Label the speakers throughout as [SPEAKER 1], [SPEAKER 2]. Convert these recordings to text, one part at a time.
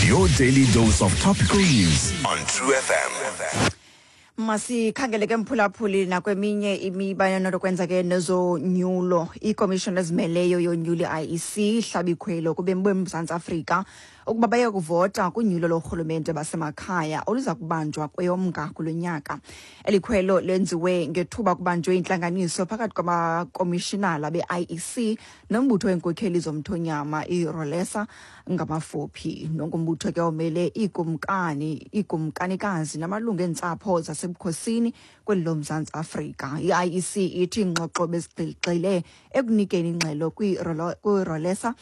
[SPEAKER 1] Your daily dose of topical news on True FM.
[SPEAKER 2] Masikhangele ke, mphulaphuli, nakweminye imiba enokwenza ke nezonyulo. Ikomishoni ezimeleyo yonyulo, i-IEC, ihlaba ikhwelo kubemi boMzantsi Afrika ukuba baye kuvota kunyulo lorhulumente basemakhaya oluza kubanjwa kweyoMnga kulo nyaka. Eli khwelo lenziwe ngethuba kubanjwe intlanganiso phakathi kwamakomishinala be-IEC nombutho weenkokheli zomthonyama, iRolesa ngamafuphi, nongumbutho ke omele iikumkani, iikumkanikazi namalungu eentsapho zasebukhosini kweli loMzantsi Afrika. I-IEC ithi iingxoxo bezigxile ekunikeni ingxelo kwiRolesa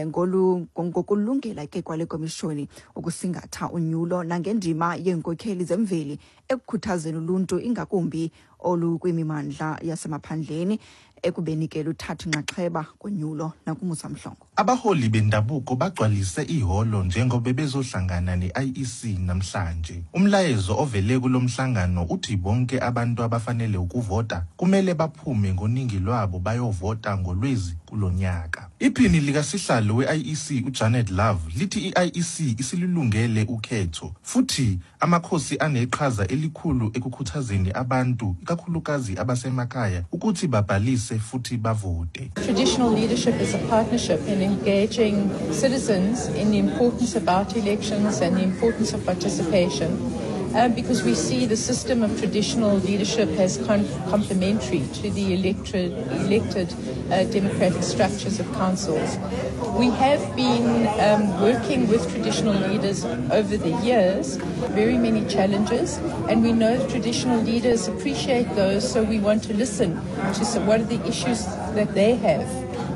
[SPEAKER 2] ngokulungela ke kwale komishoni ukusingatha unyulo nangendima yeenkokheli zemveli ekukhuthazeni uluntu, ingakumbi olukwimimandla yasemaphandleni, ekubeni ke luthatha inxaxheba konyulo. NakuMusa Mhlongo.
[SPEAKER 3] Abaholi bendabuko bagcwalise ihholo njengoba bezohlangana ne-IEC namhlanje. Umlayezo ovele kulo mhlangano uthi bonke abantu abafanele ukuvota kumele baphume ngoningi lwabo bayovota ngoLwezi kulo nyaka. Iphini likasihlalo we-IEC, uJanet Love, lithi i-IEC isilulungele ukhetho futhi amakhosi aneqhaza elikhulu ekukhuthazeni abantu, ikakhulukazi abasemakhaya, ukuthi babhalise futhi bavote.
[SPEAKER 4] Traditional leadership is a partnership in engaging citizens in the importance about elections and the importance of participation. Because we see the system of traditional leadership as complementary to the elected democratic structures of councils. We have been working with traditional leaders over the years, very many challenges, and we know traditional leaders appreciate those, so we want to listen to what are the issues that they have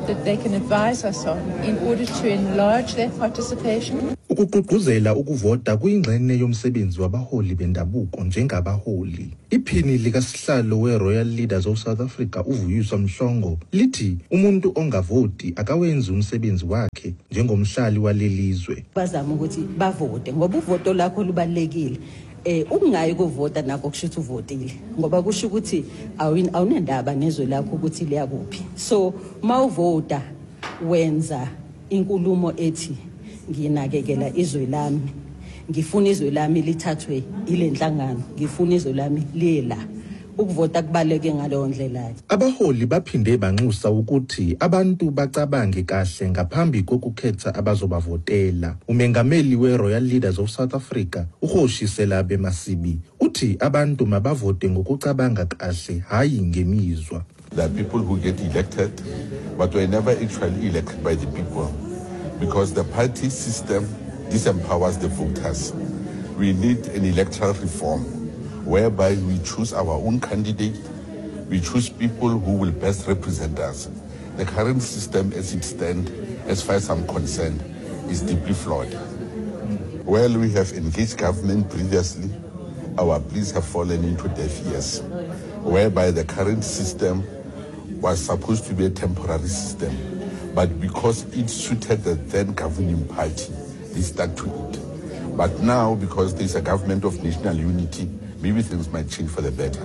[SPEAKER 4] that they can advise us on in order to enlarge that participation.
[SPEAKER 3] Ukugqugquzela ukuvota kuyingxenye yomsebenzi wabaholi bendabuko njengabaholi. Iphini likasihlalo we-Royal Leaders of South Africa, uVuyiswa Mhlongo, lithi umuntu ongavoti akawenzi umsebenzi wakhe njengomhlali walelizwe.
[SPEAKER 5] Bazama ukuthi bavote ngoba uvoto lakho lubalulekile. Ukungayi kuvota nako kusho ukuthi uvotile, ngoba kusho ukuthi awunendaba nezwe lakho ukuthi liyakuphi. So mawuvota wenza inkulumo ethi nginakekela izwe lami, ngifuna izwe lami lithathwe ile nhlangano, ngifuna izwe lami liye la. Ukuvota kubaluleke ngaleyo ndlela.
[SPEAKER 3] Abaholi baphinde banxusa ukuthi abantu bacabange kahle ngaphambi kokukhetha abazobavotela. Umengameli we-Royal Leaders of South Africa, uKgoshi Selabe Masibi, uthi abantu mabavote ngokucabanga kahle, hayi ngemizwa.
[SPEAKER 6] There are people who get elected, but were never actually elected by the people because the party system disempowers the voters. We need an electoral reform whereby we choose our own candidate, we choose people who will best represent us. The current system as it stands, as far as I'm concerned, is deeply flawed. Well, we have engaged government previously. Our pleas have fallen into deaf ears, whereby the current system was supposed to be a temporary system, but because it suited the then governing party, they stuck to it. But now, because there's a government of national unity, maybe things might change for the better.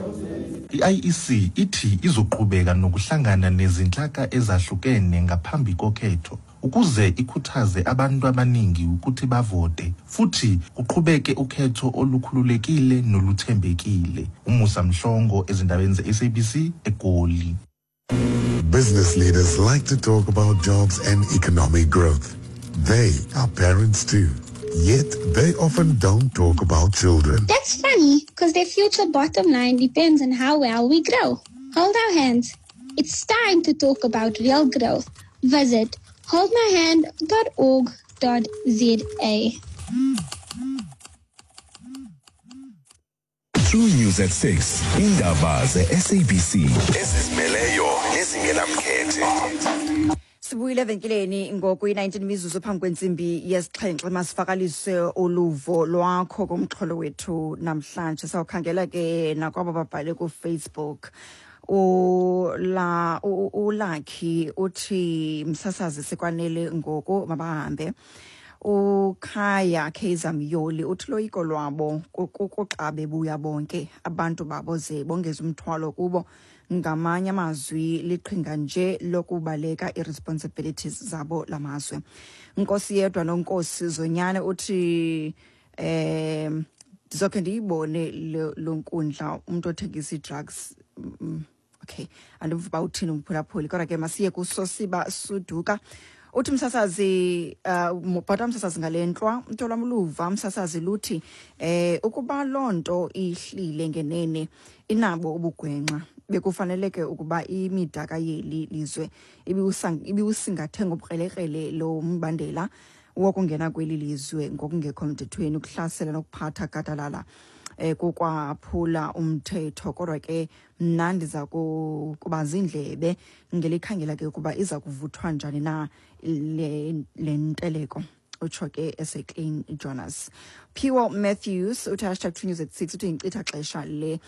[SPEAKER 3] I-IEC ithi izoqhubeka nokuhlangana nezinhlaka ezahlukene ngaphambi kokhetho ukuze ikhuthaze abantu abaningi ukuthi bavote futhi kuqhubeke ukhetho olukhululekile noluthembekile. UMusa Mhlongo, ezindabeni ze-SABC, eGoli.
[SPEAKER 7] Business leaders like to talk about jobs and economic growth. They are parents too. Yet they often don't talk about children.
[SPEAKER 8] That's funny, because their future bottom line depends on how well we grow. Hold our hands. It's time to talk about real growth. Visit holdmyhand.org.za.
[SPEAKER 1] True News at 6. Indaba ze-SABC ezizimeleyo nezingenamkhethe.
[SPEAKER 2] Sibuyile evenkileni ngoku, i-19 mizuzu phambi kwentsimbi yesixhenxe. Masivakalise uluvo lwakho kumxholo wethu namhlanje. Sawukhangela ke nakwabo babhale kuFacebook. Ulakhi uthi, "Msasazi, sikwanele ngoku, mabahambe." Ukhaya Kaizer Myoli uthi loyiko lwabo kuxa bebuya bonke abantu babo ze bongeze umthwalo kubo. Ngamanye amazwi, liqhinga nje lokubaleka i-responsibilities zabo lamazwe. Nkosi Yedwa noNkosi Zonyane uthi ndizokhe ndiyibone lo nkundla, umntu othengisa ii-drugs. Okay, andimva uba uthini umphulaphuli, kodwa ke masiye kuSosiba Suduka. Uthi, msasazi, bhota msasazi, ngale ntlwa mntu luva msasazi luthi ukuba loo nto ihlile ngenene inabo ubugwenxa, bekufaneleke ukuba imidaka yeli lizwe ibiwusingathe ngobukrelekrele lo mbandela wokungena kweli lizwe ngokungekho mthethweni. Ukuhlasela nokuphatha gadalala kukwaphula umthetho, kodwa ke mna ndiza kuba ziindlebe ngelikhangela ke ukuba iza kuvuthwa njani na le nteleko, utsho ke eseClean Jonas. Phiwo Matthews uthi #TrueNews at 6, uthi yinkcitha xesha le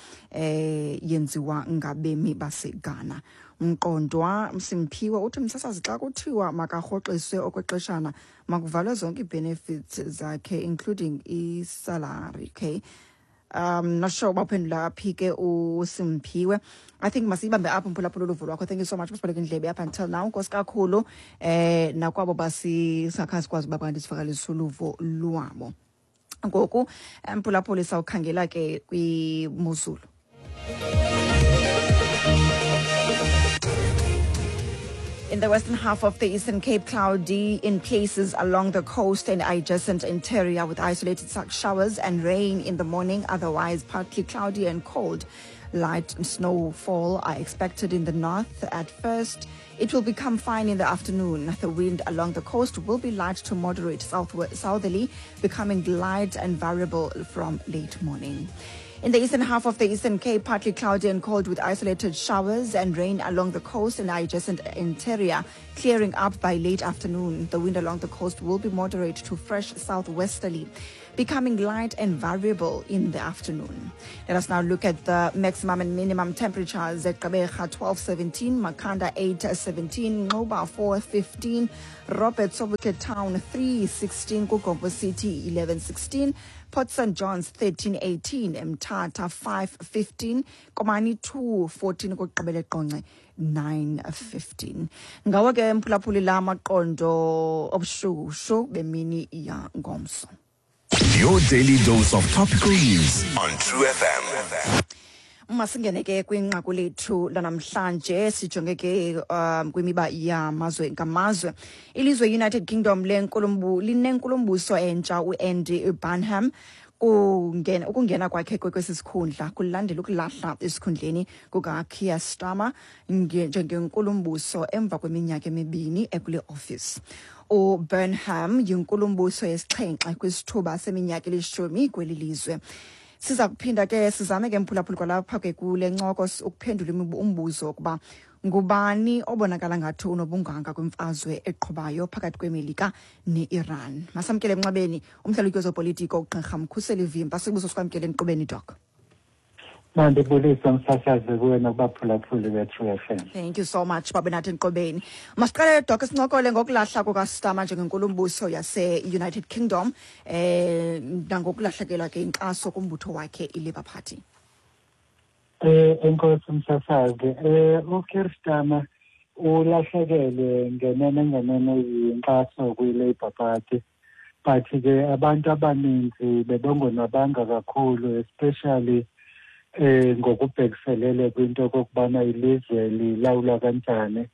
[SPEAKER 2] yenziwa ngabemi baseGhana. Mqondwa Simphiwe uthi, msasazi, xa kuthiwa makarhoxiswe okwexeshana, makuvalwe zonke ii-benefits zakhe, including isalary. Okay, not sure uba uphendula phi ke uSimphiwe. I think masiyibambe apho, mphulaphula, uluvo lwakho. Thank you so much, masibhaleke indlebe up until now. Nkosi kakhulu nakwabo basingakhange sikwazi uba kanti sivakalise uluvo lwabo. Ngoku, mphulaphuli, sawukhangela ke kwimozulu. In the western half of the Eastern Cape, cloudy in places along the coast and adjacent interior with isolated showers and rain in the morning. Otherwise, partly cloudy and cold. Light snowfall are expected in the north at first. It will become fine in the afternoon. The wind along the coast will be light to moderate southerly, becoming light and variable from late morning. In the eastern half of the Eastern Cape, partly cloudy and cold with isolated showers and rain along the coast and adjacent interior, clearing up by late afternoon. The wind along the coast will be moderate to fresh southwesterly, becoming light and variable in the afternoon. Let us now look at the maximum and minimum temperatures. At Gqeberha 12:17, Makhanda 8:17, Nxuba 4:15, Robert Sobukwe Town 3:16, KuGompo City 11:16, Port St. John's 13:18, Mthatha 5:15, Komani 2:14, kokugqibela eQonce 9:15. Ngawo ke, mphulaphuli, la maqondo obushushu bemini yangomso.
[SPEAKER 1] Your daily dose of topical news on True FM.
[SPEAKER 2] Masingene ke kwinqaku lethu lanamhlanje, sijonge ke kwimiba yamazwe ngamazwe. Ilizwe United Kingdom linenkulumbuso entsha, uAndy Burnham. Ukungena kwakhe kwesi sikhundla kulandela ukulahla esikhundleni kukaKeir Starmer njengenkulumbuso emva kweminyaka emibini ekule office. UBurnham yinkulumbuso yesixhenxe kwisithuba seminyaka elishumi kweli lizwe. Siza kuphinda ke sizame ke, mphulaphuli, kwalapha ke kule ncoko ukuphendula umbuzo wokuba ngubani obonakala ngathi unobunganga kwimfazwe eqhubayo phakathi kweMelika ne-Iran. Masamkele emnxebeni umhlalutyi wezopolitiko, uGqirha Mkhuseli Vimba. Sibuso sikwamkele enkqubeni, Doc.
[SPEAKER 9] Mandibulise, msasazi, kuwe nakubaphulaphuli be-True FM.
[SPEAKER 2] Thank you so much babe nathi enkqubeni. Masiqale, Doc, sincokole ngokulahla kukaStarmer njengenkulumbuso yase-United Kingdom nangokulahlekelwa ke inkxaso kumbutho wakhe iLabour Party.
[SPEAKER 9] Enkosi, msasazi. uKeir Starmer ulahlekelwe ngenene ngenene yinkxaso kwi-Labour Party, but ke abantu abaninzi bebongonwabanga kakhulu, especially ngokubhekiselele kwinto okokubana ilizwe lilawulwa kanjani.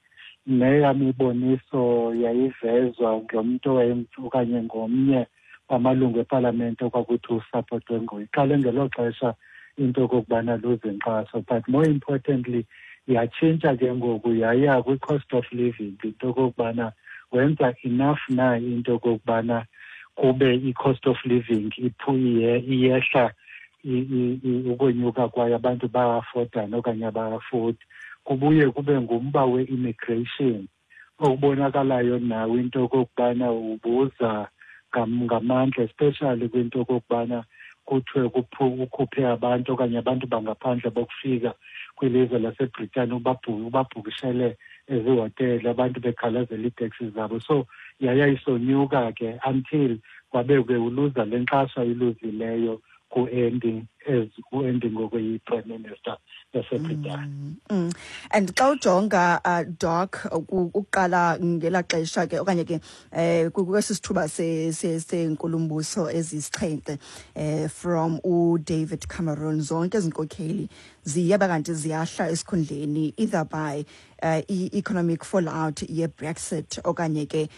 [SPEAKER 9] Neyam iboniso yayivezwa ngomntu okanye ngomnye wamalungu epalamente okwakuthi usapotwe nguye. Iqale ngelo xesha into okokubana luze inkxaso, but more importantly yatshintsha ke ngoku yaya kwi-cost of living, into okokubana wenza enough na into okokubana kube i-cost of living iyehla, ukonyuka kwayo abantu baya-affordana okanye aba-afford. Kubuye kube ngumba we-immigration okubonakalayo nawo into okokubana ubuza ngamandla, especially kwinto okokubana kuthiwe ukhuphe abantu okanye abantu bangaphandle bokufika kwilizwe laseBritane, ubabhukishele ezihotele, abantu bekhalazela iiteksi zabo. So yaya isonyuka ke until wabe ke uluza le nkxaso ayiluzileyo ku-Andy. as u-Andy ngoku yi-Prime Minister yaseBritane.
[SPEAKER 2] And xa ujonga, Doc, ukuqala ngelaa xesha ke okanye ke kwesi sithuba senkulumbuso ezisixhenxe from uDavid Cameron, zonke ezi nkokheli ziyaba kanti ziyahla esikhundleni either by i-economic fallout ye-Brexit okanye ke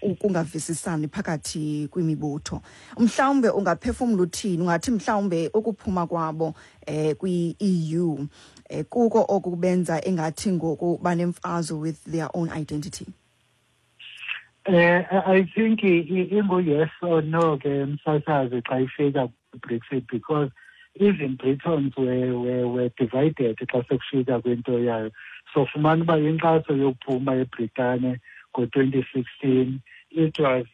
[SPEAKER 2] ukungavisisani phakathi kwimibutho. Mhlawumbe ungaphefumla uthini, ungathi mhlawumbe ukuphuma kwabo kwi-EU kuko okubenza engathi ngoku banemfazwe with their own identity?
[SPEAKER 9] I think ingu yes or no ke, msasazi, xa ifika Brexit, because even Britons were divided xa sekufika kwinto yayo. So fumana uba inkxaso yokuphuma eBritane ngo-2016, it was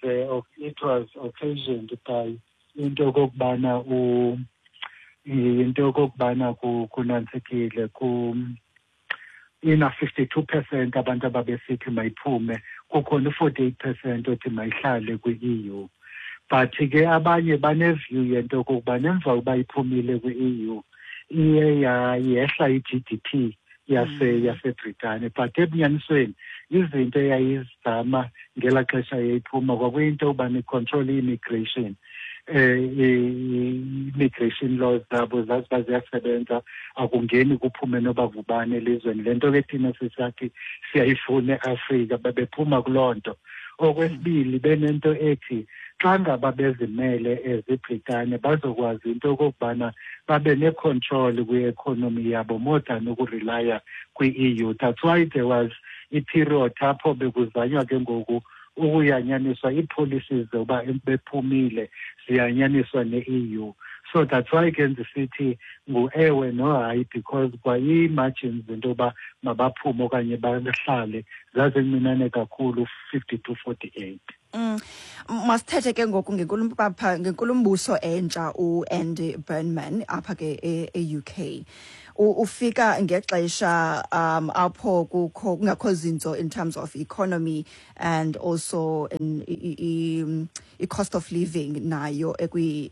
[SPEAKER 9] occasioned by into okokubana kunantsikile ku ina 52% abantu ababesithi mayiphume, kukhona u-48% othi mayihlale kwi-EU. But ke abanye bane-view yento okokuba emva uba iphumile kwi-EU, iye yehla i-GDP yaseBritane. But ebunyanisweni izinto eyayizama ngelaa xesha yayiphuma kwakuyinto yokuba ni-control i-immigration, i-immigration laws zabo zaziba ziyasebenza, akungeni kuphume noba ngubani elizweni. Le nto ke thina sisathi siyayifuna eAfrika, bebephuma kuloo nto. Okwesibili, benento ethi xa ngaba bezimele eziBritane, bazokwazi into okokubana babe ne-control kwi-economy yabo more than uku-rely-a kwi-EU. That's why there was i-period apho bekuzanywa ke ngoku ukuyanyaniswa ii-policies zoba bephumile ziyanyaniswa ne-EU. So that's why ke ndisithi ngu-ewe nohayi, because kwa ii-margins into yoba mabaphume okanye bahlale zazincinane kakhulu, 52-48.
[SPEAKER 2] Masithethe ke ngoku ngenkulumbuso entsha, uAndy Burnham, apha ke e-UK. Ufika ngexesha apho kukho kungakho zinzo in terms of economy and also in i cost of living nayo ekwi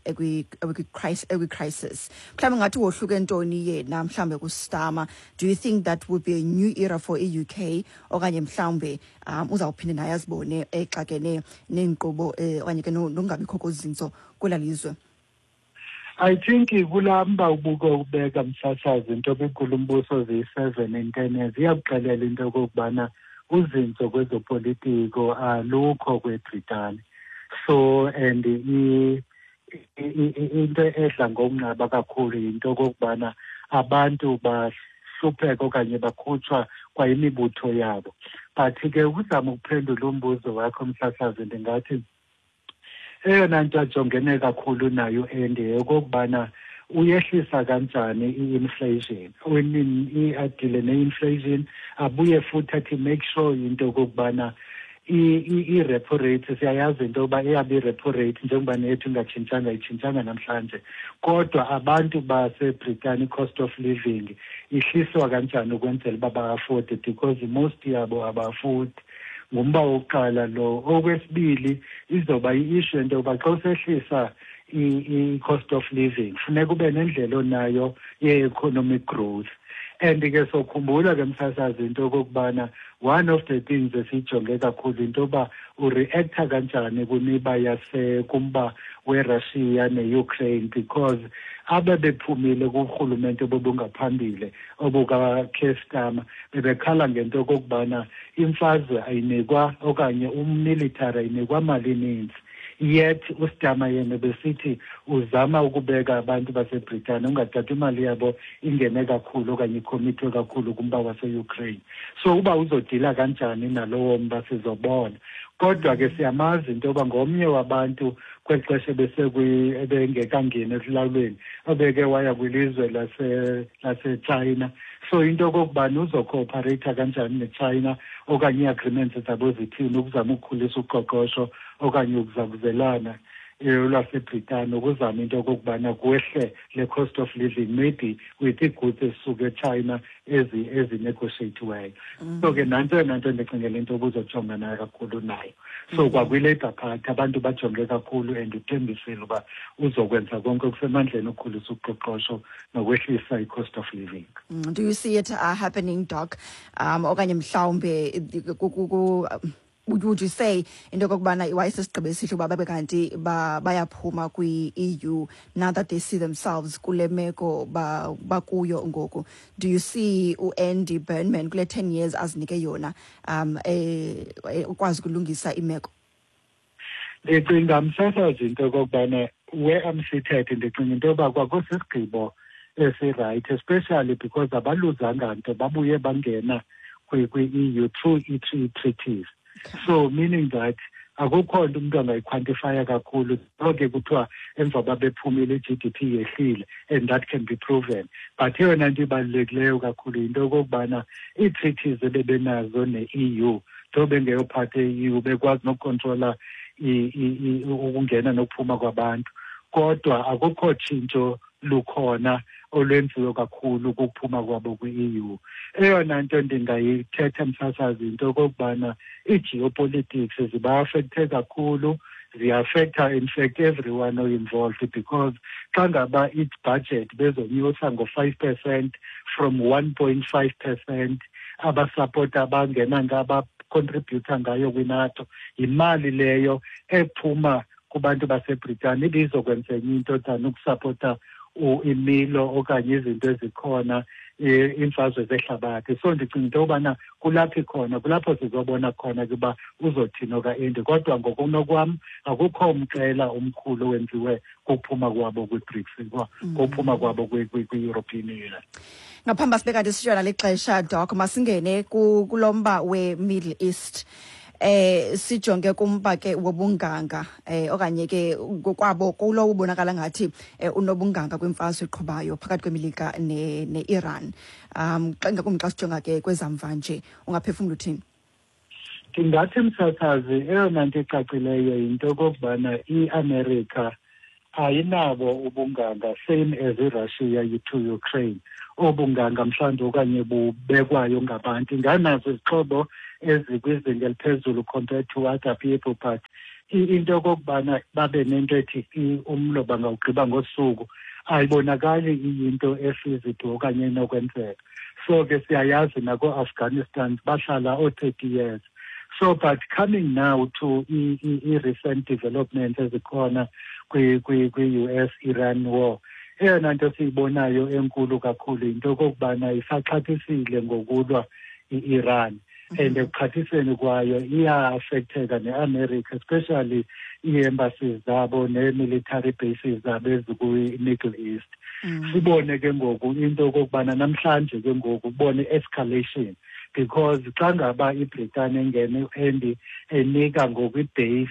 [SPEAKER 2] crisis. Mhlawumbe ngathi wohluke ntoni yena mhlawumbe kuStarmer? Do you think that would be a new era for i-UK, okanye mhlawumbe uzawuphinde naye azibone exakene neenkqubo okanye ke nokungabikho kozinzo kwela lizwe?
[SPEAKER 9] I think kulaa mba ubuke ubeka, msasazi, into kwinkulumbuso ziyi-7 in 10 years iyakuxelela into okokubana uzinzo kwezopolitiko alukho kweBritane. So and into edla ngokunqaba kakhulu yinto okokubana abantu bahlupheka okanye bakhutshwa kwayimibutho yabo. But ke ukuzama ukuphendula umbuzo wakho, msasazi, ndingathi eyona nto ajongene kakhulu nayo and yeyokokubana uyehlisa kanjani i-inflation, a-deal-e ne-inflation, abuye futhi athi make sure into okokubana i-repo rate, siyayazi into yokuba eyabo i-repo rate njengoba nethu ingatshintshanga, itshintshanga namhlanje, kodwa abantu baseBritane i-cost of living ihliswa kanjani ukwenzela uba ba-afford-e, because most yabo aba-afford. Ngumba wokuqala lo. Okwesibili, izoba i-issue into yokuba xa usehlisa i-cost of living, funeka ube nendlela onayo ye-economic growth. And ke sokhumbula ke, msasazi, into okokubana one of the things esiyijonge kakhulu into yoba u-react-a kanjani kwimiba kumba weRussia ne-Ukraine, because abebephumile kurhulumente obubungaphambili obukaKeir Starmer bebekhala ngento okokubana imfazwe ayinikwa okanye um-military ayinikwa mali ininzi, yet uStarmer yena besithi uzama ukubeka abantu baseBritane, ungathathi imali yabo ingene kakhulu okanye i-commit-we kakhulu kumba wase-Ukraine. So uba uzo-deal-a kanjani nalowo mba sizobona. Kodwa ke siyamazi into yoba ngomnye wabantu kweli xesha ebengekangeni esilawulweni obeke waya kwilizwe laseChina. So into okokubana uzo-cooperate kanjani neChina okanye ii-agreements zabo zithini ukuzama ukukhulisa uqoqosho okanye ukuzakuzelana. lwaseBritane ukuzama into okokubana kwehle le cost of living, maybe with ii-goods ezisuka eChina ezinegotiatiweyo. So ke nantso eyona nto ndicingela into obuzojonga nayo kakhulu nayo. So kwakwi-Labour Party abantu bajonge kakhulu, and uthembisile uba uzokwenza konke okusemandleni ukukhulisa uqoqosho nokwehlisa i-cost of living.
[SPEAKER 2] Do you see it happening, Doc? Okanye mhlawumbe would you say into yokokubana wayesesigqibo esihle uba babe kanti bayaphuma kwi-EU now that they see themselves kule meko bakuyo ngoku? Do you see uAndy Burnham kule 10 years azinike yona ukwazi ukulungisa imeko?
[SPEAKER 9] Ndicinga, msasazi, into okokubana where I'm seated, ndicinga into yoba kwakusisigqibo esi-right, especially because abaluzanga nto, babuye bangena kwi-EU through ii-treaties. So meaning that akukho nto umntu angayiquantifya kakhulu. So ke kuthiwa emva babephumile i-GDP yehlile, and that can be proven, but eyona nto ibalulekileyo kakhulu yinto yokokubana ii-treaties ebebenazo ne-EU, nto bengeyophatha e-EU, bekwazi nokucontrola ukungena nokuphuma kwabantu, kodwa akukho tshintsho lukhona olwenziwe kakhulu kukuphuma kwabo kwi-EU. Eyona nto ndingayithetha, msasazi, yinto yokokubana ii-geopolitics ziba-affecte kakhulu, ziaffecta in fact everyone o-involved, because xa ngaba i-budget bezonyusa ngo-5% from 1.5% abasapota abangena abacontributa ngayo kwiNATO, yimali leyo ephuma kubantu baseBritane ibizokwenza enye into than ukusapota imilo okanye izinto ezikhona, iimfazwe zehlabathi. So ndicinga into yobana kulapho ikhona, kulapho sizobona khona ke uba uzothini okaAndy, kodwa ngokunokwam akukho mqela omkhulu owenziwe kuphuma kwabo kwi-BRICS, kuphuma kwabo kwi-European Union.
[SPEAKER 2] Ngaphambi sibe kanti sishiyana lixesha, Doc, masingene kulo mba we-Middle East, sijonge kumba ke wobunganga okanye ke ngokwabo kulo ubonakala ngathi unobunganga kwimfazwe eqhubayo phakathi kweMelika ne-Iran. Xa ngakumbi xa sijonga ke kwezamva nje, ungaphefumla uthini?
[SPEAKER 9] Ndingathi, msasazi, eyona nto icacileyo yinto okokubana iAmerica ayinabo ubunganga same as iRussia to Ukraine, obunganga mhlawumbi okanye bubekwayo ngabantu. Inganazo izixhobo ezikwizinga eliphezulu compared to other people, but into yokokubana babe nento ethi umlo bangawugqiba ngosuku ayibonakali iyinto efeasible okanye enokwenzeka. So ke siyayazi nako-Afghanistan bahlala oo-30 years. So but coming now to i-recent developments ezikhona kwi-US Iran war, eyona nto siyibonayo enkulu kakhulu yinto yokokubana isaxhathisile ngokulwa i-Iran, and ekuxhathiseni kwayo iya-affecteka ne-America, especially ii-embassies zabo nee-military bases zabo ezikwi-Middle East. Sibone ke ngoku into yokokubana namhlanje ke ngoku ubone i-escalation, because xa ngaba iBritane engene and enika ngoku ibase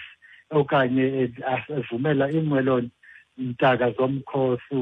[SPEAKER 9] okanye evumela iinqwelo ntaka zomkhosi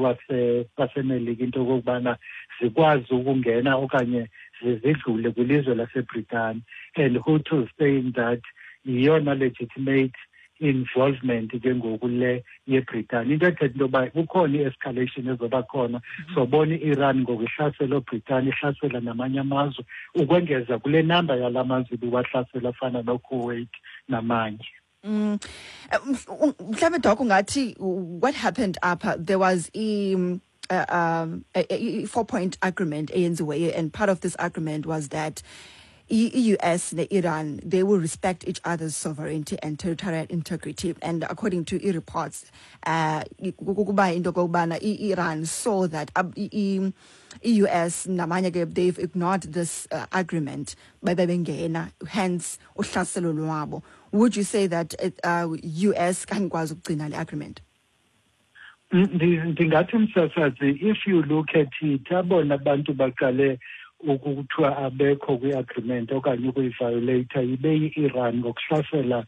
[SPEAKER 9] waseMelika into okokubana zikwazi ukungena okanye zidlule kwilizwe laseBritane, and Houthis saying that yiyona legitimate involvement ke ngoku le yeBritane, into ethetha into yoba kukhona i-escalation ezoba khona. Sobona i-Iran ngoku ihlasela oBritane, ihlasela namanye amazwe, ukwengeza kule namba yala mazwe ibiwahlasela afana noKuwait namanye.
[SPEAKER 2] Mhlawumbe, Doc, ungathi what happened apha? There was a four point agreement eyenziweyo, and part of this agreement was that i-US ne-Iran, they will respect each other's sovereignty and territorial integrity, and according to i-reports, kukuba into okokubana i-Iran saw that i-US namanye ke, they've ignored this agreement, babe bengena, hence uhlaselo lwabo. Would you say that US kangikwazi ukugcina le agreement?
[SPEAKER 9] Ndingathi, msasazi, if you look at it, abona bantu baqale ukuthiwa abekho kwi-agreement okanye ukuyiviolata ibe yi-Iran ngokuhlasela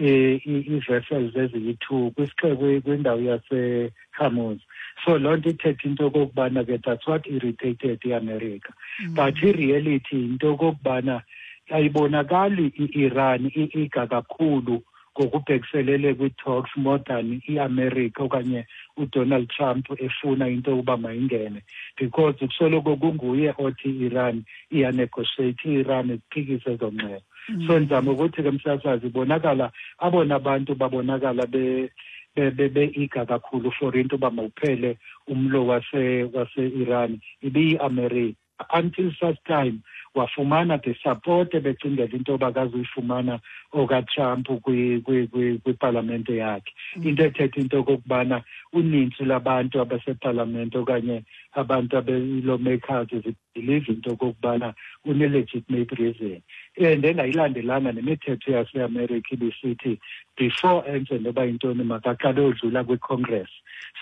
[SPEAKER 9] ii-vessels eziyi-2 kwisixeko kwindawo yaseHormuz. So loo nto ithetha into okokubana ke that's what irritated iAmerica, but i-reality yinto okokubana ayibonakali i-Iran i-eager kakhulu. Ngokubhekiselele kwi-talks more than i-America okanye uDonald Trump efuna into yokuba mayingene, because kusoloko kunguye othi i-Iran iyanegotiate, i-Iran iphikise ezo ngxelo. So ndizama ukuthi ke, msasazi, ibonakala abona bantu babonakala be-eager kakhulu for into yoba mawuphele umlo wase-Iran ibiyi-America, until such time wafumana the support ebecingela into yoba akazuyifumana okaTrump kwipalamente yakhe. Into ethetha into okokubana unintsi lwabantu abasepalamente okanye abantu abe-lawmakers zibelieve into okokubana une-legitimate reason and engayilandelanga nemithetho yaseAmerica ibisithi before enze noba yintoni makaqale odlula kwiCongress.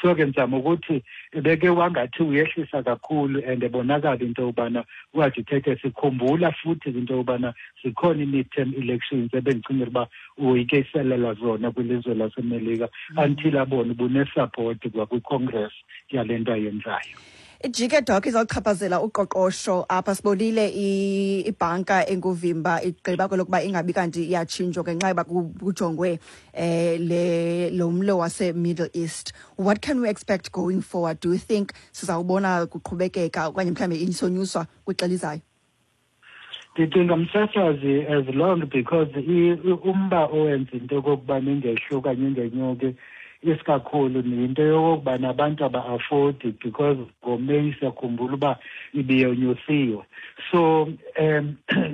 [SPEAKER 9] So ke ndizama ukuthi ebeke wangathi uyehlisa kakhulu and ebonakala into yobana uagitated. Sikhumbula futhi into yobana zikhona i-midterm elections ebendicingela uba uyikiselela zona kwilizwe laseMelika until abone ubunesupport kwakwiCongress yale nto ayenzayo.
[SPEAKER 2] Ijike, Doc, izawuchaphazela uqoqosho apha. Sibonile ibhanka enguvimba igqiba kwelokuba ingabi kanti iyatshintshwa ngenxa yoba kujongwe le lo mlo wase-Middle East. What can we expect going forward? Do you think sizawubona kuqhubekeka okanye mhlawumbi isonyuswa kwixa elizayo?
[SPEAKER 9] Ndicinga, msasazi, as long because umba owenza into yokokubana ingehli okanye ingenyuki isikakhulu yinto yokokubana abantu aba-affordi, because ngoMeyi siyakhumbula uba ibiyonyusiwe. So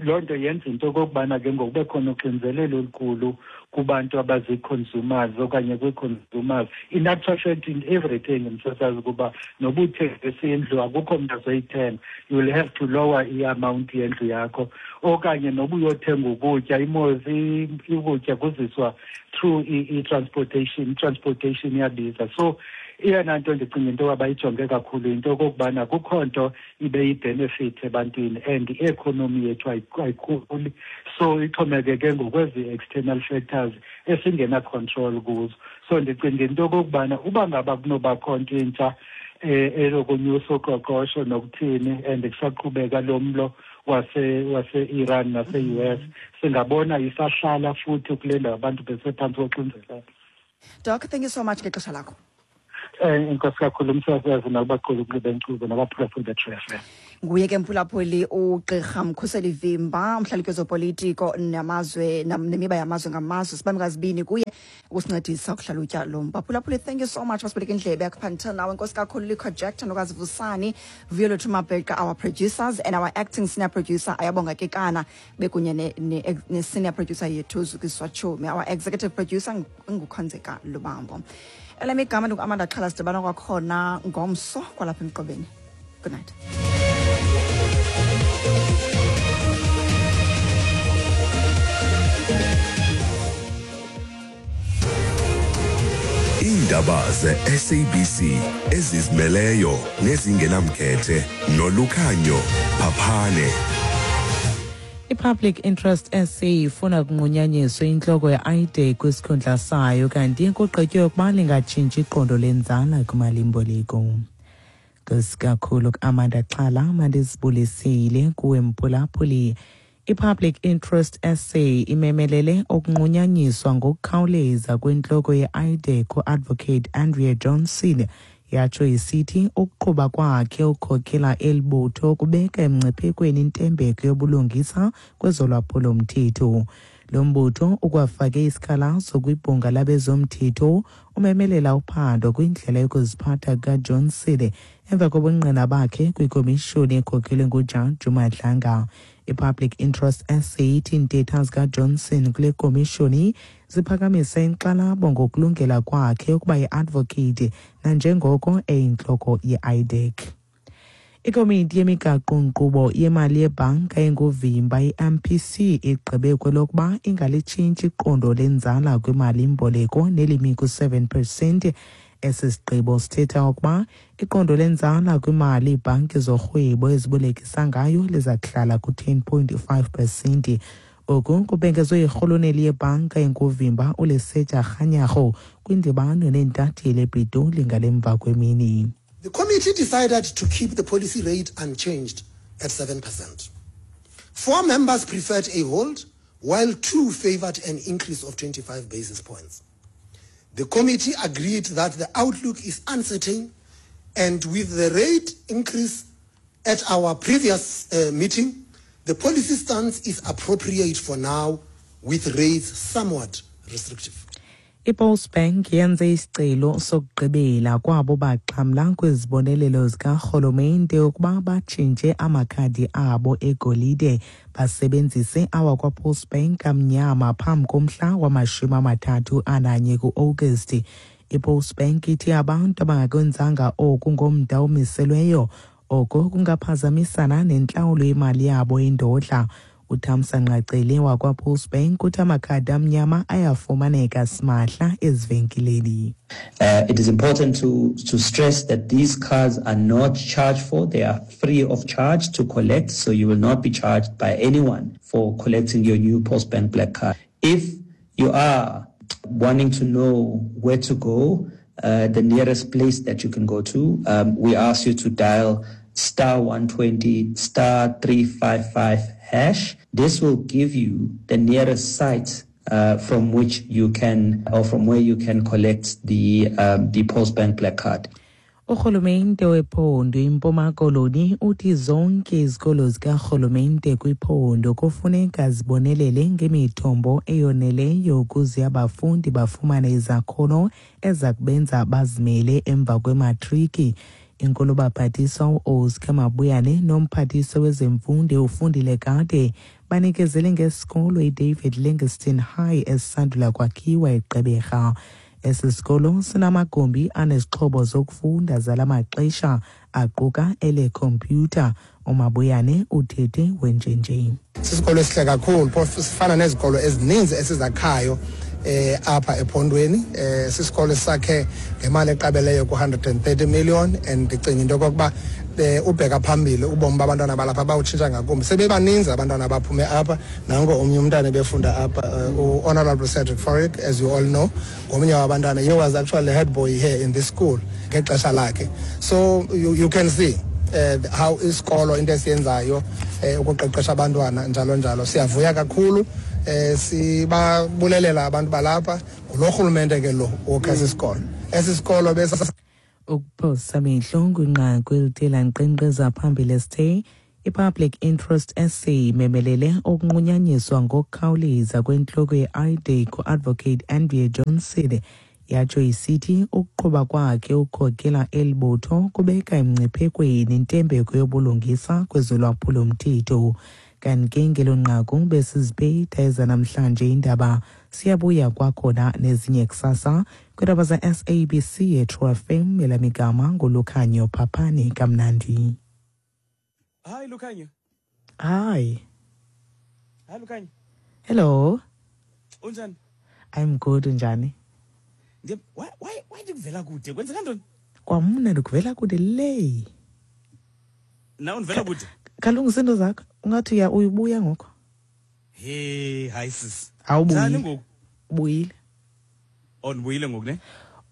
[SPEAKER 9] loo nto yenza into yokokubana ke ngoku kube khona uxinzelelo olukhulu kubantu abazii-consumers okanye kwii-consumers, in actual fact in everything, msasazi, kuba noba uthengisa indlu akukho mntu azoyithenga, you will have to lower i-amount yendlu yakho, okanye noba uyothenga ukutya, imozi ukutya kuziswa through i-transportation, i-transportation iyabiza. So eyona nto ndicinga into yoba bayijonge kakhulu yinto yokokubana kukho nto ibe yi-benefit ebantwini and i-economy yethu ayikhuli, so ixhomekeke ngokwezi external factors esingena-control kuzo. So ndicinga into yokokubana uba ngaba kunobakho nto intsha elokunyusa uqoqosho nokuthini and kusaqhubeka lo mlo wase-Iran nase-US, singabona isahlala futhi kule ndawo abantu besephantsi koxinzelelo.
[SPEAKER 2] Doc, thank you so much ngexesha lakho.
[SPEAKER 9] Enkosi kakhulu, umsasazi, nakubaquli benkqubo nabaphulaphuli be-True FM.
[SPEAKER 2] Nguye ke, mphulaphuli, ugqirha Mkhuseli Vimba, umhlalutyi wezopolitiko namazwe nemiba yamazwe ngamazwe. Sibambe ngazibini kuye ukusincedisa ukuhlalutya lo mba. Phulaphuli, thank you so much basibeleka indlebe yakho until now. Enkosi kakhulu, Likho Jackson, Nokazivusani, Vuyolwethu Mabheqa, our producers, and our acting senior producer Ayabonga Kekana, bekunye ne-senior producer yethu Zukiswa Chumi. Our executive producer nguKhonzeka Lubambo. Elam igama ndingu-Amanda Xhala. Sidibana kwakhona ngomso kwalapha emqobeni. Good night.
[SPEAKER 1] Iindaba ze-SABC ezizimeleyo nezingenamkhethe noLukhanyo Phaphane.
[SPEAKER 10] I-Public Interest SA ifuna kunqunyanyiswe intloko ye-IDAC kwisikhundla sayo, kanti kugqitywe ukuba lingatshintshi iqondo lenzala kwimalimboleko. Enkosi kakhulu ku-Amanda Xhala. Mandizibulisile kuwe, mphulaphuli. I-Public Interest SA imemelele ukunqunyanyiswa ngokukhawuleza kwentloko ye-IDAC u-Advocate Andrea Johnson, yatsho isithi ukuqhuba kwakhe ukukhokhela eli butho kubeka emngciphekweni intembeko yobulungisa kwezolwaphulomthetho. Lo mbutho ukwafake isikhalazo kwibhunga labezomthetho, umemelela uphando kwindlela yokuziphatha kukaJohnson emva kobungqina bakhe kwikomishoni ekhokhelwe ngujaji uMadlanga. I-Public Interest SA ithi iintetha zikaJohnson kule komishoni ziphakamisa inkxalabo ngokulungela kwakhe ukuba yi-advocate nanjengoko eyintloko ye-IDAC. Ikomiti yemigaqo-nkqubo yemali yebhanka enguvimba i-MPC igqibe kwelokuba ingalitshintshi iqondo lenzala kwimali-mboleko nelimi ku-7 percent. Esi sigqibo sithetha ukuba iqondo lenzala kwimali iibhanki zorhwebo ezibolekisa ngayo liza kuhlala ku-10.5 percent. Oku kubhengezwe yirhuluneli yebhanka enguvimba uLesetja Kganyago kwindibano neentatheli ePitoli ngalemva kwemini.
[SPEAKER 11] The committee decided to keep the policy rate unchanged at 7%. Four members preferred a hold, while 2 favored an increase of 25 basis points. The committee agreed that the outlook is uncertain, and with the rate increase at our previous meeting, the policy stance is appropriate for now, with rates somewhat restrictive.
[SPEAKER 10] IPostbank yenze isicelo sokugqibela kwabo baxhamla kwizibonelelo zikarhulumente ukuba batshintshe amakhadi abo egolide basebenzise awakwaPostbank amnyama phambi komhla wama-31 ku-Agasti. IPostbank ithi abantu abangakwenzanga oku ngomda omiselweyo oko kungaphazamisana nentlawulo yemali yabo indodla. UThamsanqa Cele wakwaPostbank uthi amakhadi amnyama ayafumaneka simahla ezivenkileni.
[SPEAKER 12] It is important to stress that these cards are not charged for. They are free of charge to collect, so you will not be charged by anyone for collecting your new Postbank Black Card. If you are wanting to know where to go, the nearest place that you can go to, we ask you to dial star 120 star 355 hash. This will give you the nearest site from which you can, or from where you can collect the Postbank Black Card.
[SPEAKER 10] Urhulumente wephondo iMpuma Koloni uthi zonke izikolo zikarhulumente kwiphondo kufuneka zibonelele ngemithombo eyoneleyo ukuze abafundi bafumane izakhono eza kubenza bazimele emva kwematriki. Inkulubaphathiswa uOscar Mabuyane nomphathiswa wezemfundo uFundile Gade banikezele ngesikolo iDavid Livingstone High esisandula kwakhiwa eGqeberha. Esi sikolo sinamagumbi anezixhobo zokufunda zala maxesha aquka elekhompyutha. UMabuyane uthethe wenjenje.
[SPEAKER 13] Sisikolo esihle kakhulu, phofu sifana nezikolo ezininzi esizakhayo apha ephondweni. Sisikolo esakhe ngemali eqabeleyo ku-130 million, and ndicinga into yokokuba ubheka phambili ubomi babantwana balapha bawutshintsha ngakumbi. Sebebaninzi abantwana abaphume apha. Nanko omnye umntana ebefunda apha, u-Honorable Cedric Fourie, as you all know, ngomnye wabantwana. He was actually head boy here in this school ngexesha lakhe. So you can see how isikolo into esiyenzayo ukuqeqesha abantwana njalo njalo. Siyavuya kakhulu, sibabulelela abantu balapha ngulo rhulumente ke lo wokha esi sikolo, esi sikolo besa.
[SPEAKER 10] Ukuphosa amehlo kwinqaku elithe lankqenkqeza phambili esithe i-Public Interest SA imemelele ukunqunyanyiswa ngokukhawuleza kwentloko ye-IDAC u-Advocate Andrea Johnson, yatsho isithi ukuqhuba kwakhe ukukhokela eli butho kubeka emngciphekweni intembeko yobulungisa kwezolwaphulomthetho. Kanti ke ngelo nqaku besiziphetha ezanamhlanje indaba. Siyabuya kwakhona nezinye kusasa kwiindaba za-SABC yeTrue FM. Elamigama nguLukhanyo. Phaphani kamnandi.
[SPEAKER 14] Hi, Lukhanyo.
[SPEAKER 10] Hi.
[SPEAKER 14] Hi, Lukhanyo.
[SPEAKER 10] Hello.
[SPEAKER 14] Unjani?
[SPEAKER 10] I'm good, unjani?
[SPEAKER 14] Ndiye why ndikuvela kude? Kwenzeka ntoni?
[SPEAKER 10] Kwamna ndikuvela kude le.
[SPEAKER 14] Nawe undivela kude?
[SPEAKER 10] Kalungisa into zakho, ungathi uya uyibuya ngoku.
[SPEAKER 14] Hey, hayi sis.
[SPEAKER 10] Awubuyi.
[SPEAKER 14] Njani ngoku?
[SPEAKER 10] Ubuyile.
[SPEAKER 14] Oh, ndibuyile ngoku ne?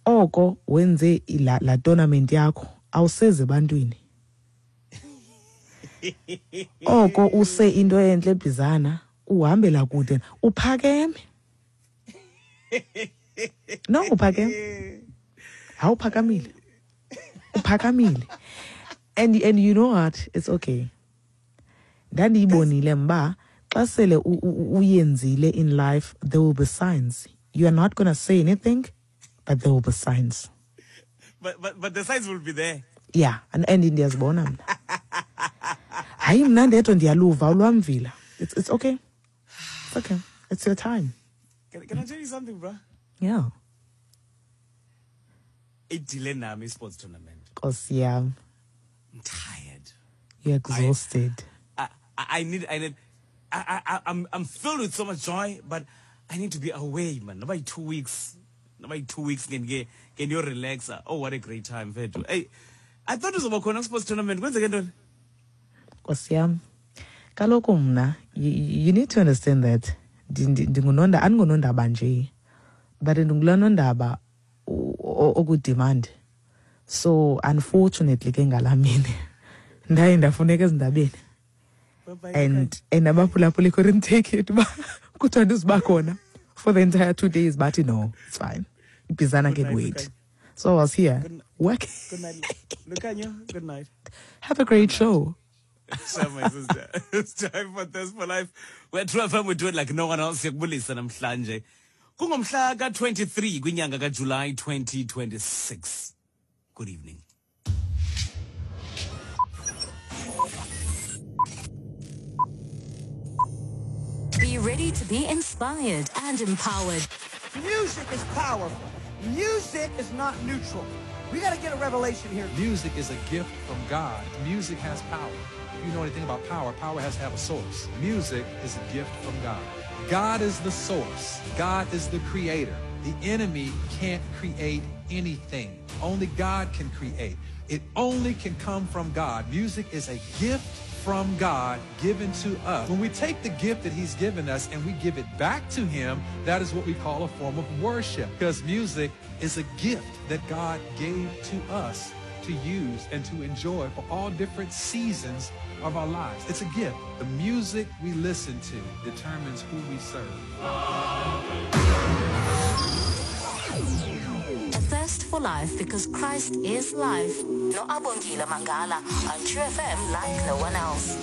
[SPEAKER 10] Oko wenze la tournament yakho awuseze ebantwini. Oko use into entle ebhizana uhambela kude uphakeme. No, uphakeme. Awuphakamile. Uphakamile. And you know what? It's okay. Ndandiyibonile mba xa sele uyenzile in life, there will be signs. You are not going to say anything, but there will be signs.
[SPEAKER 14] But the signs will be there.
[SPEAKER 10] Yeah, and ndiyazibona mna. Hayi, mna ndedwa ndiyaluva ulwamvila. It's okay. It's okay. It's your time.
[SPEAKER 14] Can I tell you something, bro?
[SPEAKER 10] Yeah.
[SPEAKER 14] Idile nami sports tournament.
[SPEAKER 10] Nkosi yam.
[SPEAKER 14] I'm tired.
[SPEAKER 10] You're exhausted.
[SPEAKER 14] I need, I, I, I'm, I'm filled with so much joy, but I need to be away, man. About 2 weeks. About 2 weeks can you relax? Oh, what a great time, mfethu. Hey, I thought it was about khona sports tournament. Kwenzeke ntoni?
[SPEAKER 10] Nkosi yam. Kaloku mna, you need to understand that ndingunonda, andingunondaba nje, but ndingulaa nondaba okudemand. So unfortunately ke ngalaa mini ndaye ndafuneka ezindabeni.
[SPEAKER 14] Bye-bye.
[SPEAKER 10] And abaphulaphuli couldn't take it uba Kuthiwa ndizuba khona for the entire 2 days, bathi no, it's fine, iBizana can wait. So I was here working.
[SPEAKER 14] Good night, Lukanyo. Good night.
[SPEAKER 10] Have a great show.
[SPEAKER 14] Sure, my sister. It's time for Thirst for Life. We're True FM, we do it like no one else. Siyakubulisa namhlanje. Kungomhla ka-23 kwinyanga kaJuly 2026. Good evening.
[SPEAKER 15] Be ready to be inspired and empowered.
[SPEAKER 16] Music is powerful. Music is not neutral. We got to get a revelation here.
[SPEAKER 17] Music is a gift from God. Music has power. If you know anything about power, power has to have a source. Music is a gift from God. God is the source. God is the creator. The enemy can't create anything. Only God can create. It only can come from God. Music is a gift from God given to us. When we take the gift that he's given us and we give it back to him, that is what we call a form of worship. Because music is a gift that God gave to us to use and to enjoy for all different seasons of our lives. It's a gift. The music we listen to determines who we serve.
[SPEAKER 15] A thirst for life, because Christ is life. No Abongile Mangala on True FM, like no one else.